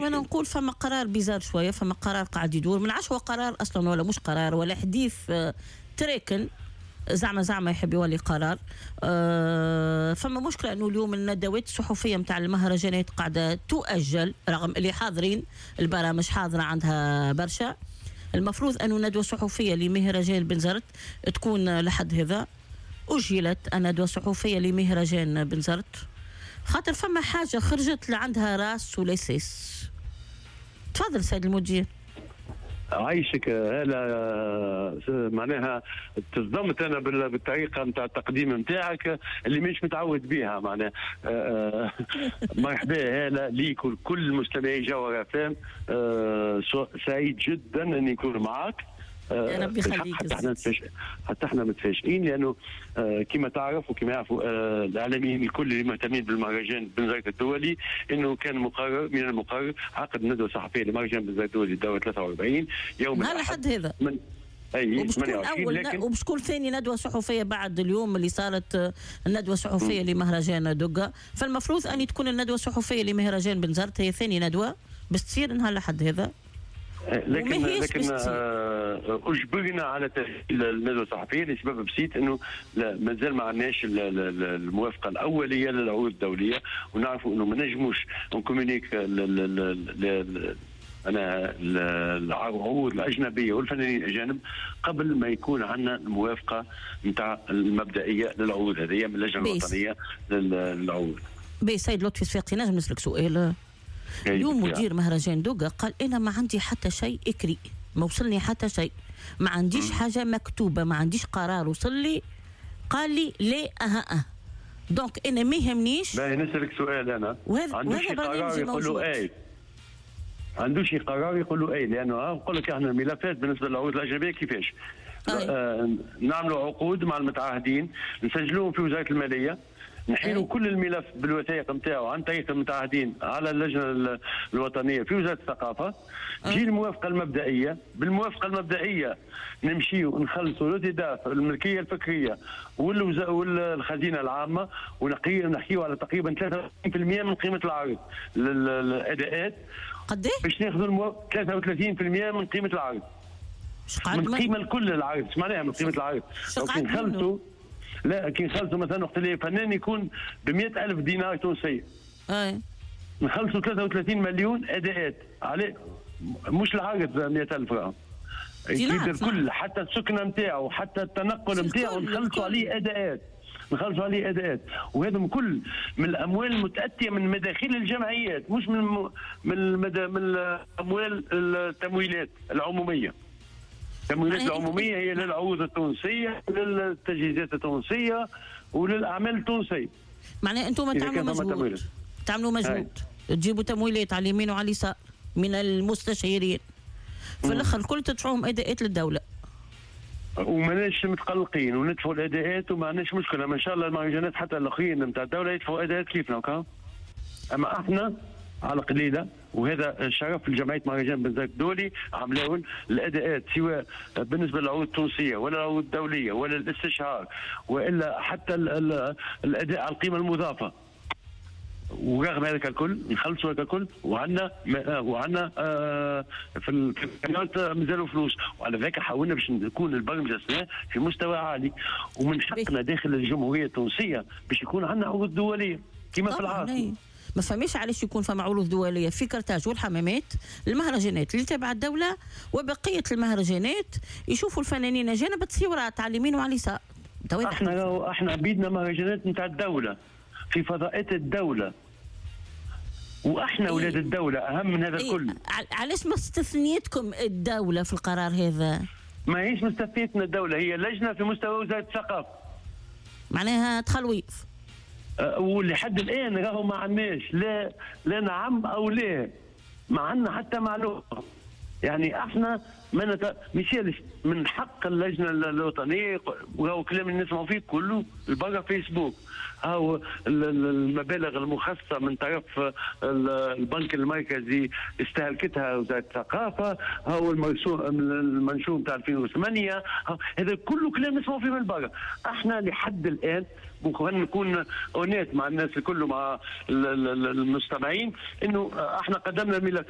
وانا نقول فما قرار bizarre شويه، فما قرار قاعد يدور، من عشوة قرار اصلا ولا مش قرار ولا حديث تراكن زعما زعما يحب يولي قرار. فما مشكلة انه اليوم الندوات الصحفية نتاع المهرجانات قاعدة تؤجل رغم اللي حاضرين، البرامج حاضره عندها برشا. المفروض انه ندوه صحفية لمهرجان بنزرت تكون لحد هذا، اجلت الندوة الصحفية لمهرجان بنزرت خاطر فما حاجة خرجت لعندها راس ولا ساس. تفضل سيد المدير. عايشك هلا، معناها تصدمت انا بالطريقة نتاع التقديم نتاعك اللي مش متعود بها معناها. مرحبا هلا ليك ولكل مستمعي جوهر اف. سعيد جدا اني نكون معك. يا ربي يخليك. حتى احنا متفاجئين لانه كما تعرف وكما يعرفوا الاعلاميين الكل اللي مهتمين بالمهرجان بنزرت الدولي انه كان مقرر من المقرر عقد ندوه صحفية لمهرجان بنزرت الدولي الدورة 43 يوم نهار الأحد هذا من اي 28، لكن وباش تكون ثاني ندوه صحفية بعد اليوم اللي صارت الندوة الصحفية لمهرجان دقه، فالمفروض ان تكون الندوة الصحفية لمهرجان بنزرت هي ثاني ندوه باش تصير نهار الأحد هذا. لكن اجبرنا على تسجيل الندوة الصحفية لسبب بسيط، انه مازال ما عندناش الموافقة الاولية للعروض الدولية، ونعرفوا انه ما نجموش ن communique انا العروض الاجنبية والفنانين الاجانب قبل ما يكون عندنا الموافقة نتاع المبدئية للعروض هذه من اللجنة الوطنية للعروض. بي سيد لطفي الصفاقسي، نجم نسالك سؤال؟ اليوم مدير مهرجان دوغا قال انا ما عندي حتى شيء écrit، ما وصلني حتى شيء، ما عنديش حاجة مكتوبه، ما عنديش قرار وصل لي، قال لي لا اها أه. donc انا ما يهمنيش. باهي نسالك سؤال انا، وهذا برنامج موجود. اي عندوش قرار يقول اي، لانه نقول لك احنا الملفات بالنسبة للعروض الاجنبية كيفاش؟ نعملوا عقود مع المتعهدين، نسجلوهم في وزارة المالية، نحيلوا كل الملف بالوثائق نتاعو عن طريق المتعهدين على اللجنة الوطنية في وزارة الثقافة. تجي الموافقة المبدئية، بالموافقة المبدئية نمشيو نخلصوا l'OTDAV الملكية الفكرية والخزينه العامة، ونحكيو على تقريبا 33% من قيمة العرض للاداءات. قد ايه؟ باش ناخذوا 33% من قيمة العرض. من قيمة الكل العرض، ايش معناها من قيمة العرض؟ نخلصوا، لا كي نخلصوا مثلا وقت اللي فنان يكون ب 100,000 دينار تونسية. اي نخلصوا 33 مليون اداءات عليه، مش العرض 100,000 راه. الكل حتى السكنة نتاعو حتى التنقل نتاعو نخلصوا عليه اداءات، نخلصوا عليه اداءات، وهذا كل من الاموال المتاتيه من مداخيل الجمعيات، مش من من الاموال التمويلات العمومية. التمويلات العمومية هي للعروض التونسية، للتجهيزات التونسية، وللاعمال التونسية. معناها انتم تعملوا مجهود، تعملوا مجهود، تجيبوا تمويلات على اليمين وعلى اليسار من المستشيرين، في الاخر الكل تدفعوهم اداءات للدولة. وماناش متقلقين وندفعوا الاداءات وما عندناش مشكلة، ما شاء الله المهرجانات حتى الاخرين نتاع الدولة يدفعوا اداءات كيفنا وكا. اما احنا على قليله، وهذا شرف لجمعية مهرجان بنزرت الدولي، عملاون الاداءات سواء بالنسبة للعروض التونسية ولا العروض الدولية ولا الاستشهار والا حتى الاداء على القيمة المضافة. ورغم هذاك الكل نخلصوا هذاك الكل، وعندنا في الكاميرات مازالوا فلوس، وعلى ذاك حاولنا باش نكون البرمجة السنة في مستوى عالي، ومن حقنا داخل الجمهورية التونسية باش يكون عندنا عروض دولية كما في العاصمة. ما فماش علاش يكون فما عروض دولية في كرتاج والحمامات، المهرجانات اللي تبع الدولة وبقية المهرجانات يشوفوا الفنانين اجانب تصويرات على اليمين وعلى اليسار. احنا بيدنا مهرجانات نتاع الدولة في فضاءات الدولة، واحنا اولاد الدولة اهم من هذا الكل. علاش ما استثنيتكم الدولة في القرار هذا؟ ما هيش مستثنيتنا الدولة، هي لجنة في مستوى وزارة الثقافة. معناها تخلويض. ولحد الان راهو ما عندناش لا نعم او لا، ما عندنا حتى معلومة. يعني احنا ما ميسالش من حق اللجنة الوطنية، وهو كلام اللي نسمعوا فيه كله البرا فيسبوك، هاو المبالغ المخصصة من طرف البنك المركزي استهلكتها وزارة الثقافة، هاو المنشور نتاع 2008، هذا كله كلام نسمعوا فيه من برا. احنا لحد الان نكون honnête مع الناس الكل ومع المستمعين انه احنا قدمنا الملفات.